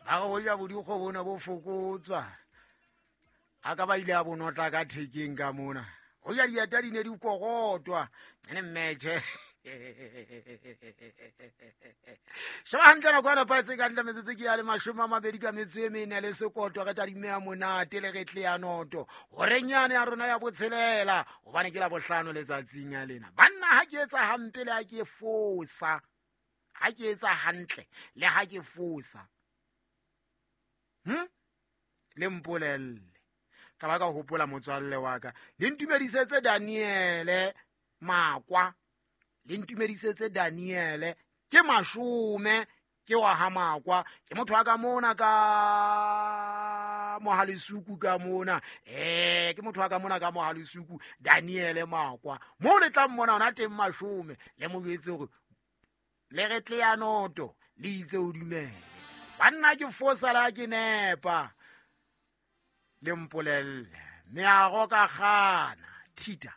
Ba re hoja bodikgo bona bo fokotswa, a ka ba ile a bonotla ka thekeng ka mona. Hoja dieta di ne di kokotwa ene mmetšhe. Sheba hantle nako ya nepahetse ka ntle metsotso ke ya le 20 ka metso e mene le sekoto. Re tadime ya monate le re tle ya noto horeng yane ya rona ya botshelela, gobane ke la bohlano letsatsing ya lena. Banna, ha ke etsa hampe le ha ke fosa, ha ke etsa hantle le ha ke fosa, Le mpolelle ka ba ka hopola motswalle wa ka. Le ntumedisetse Daniele Makwa, le ntumedisetse Daniele ke mashome, ke wa ha Makwa, ke motho wa ka mona ka Mohalesuku ka mona. Ke motho wa ka mona ka Mohalesuku, Daniele Makwa. Mo le tlang mona ona teng mashome, le mo jwetse hore le re tle ya noto le itse o dumele. Banna, ke fosa la ke nepa, le mpolelle meago ka gana thita.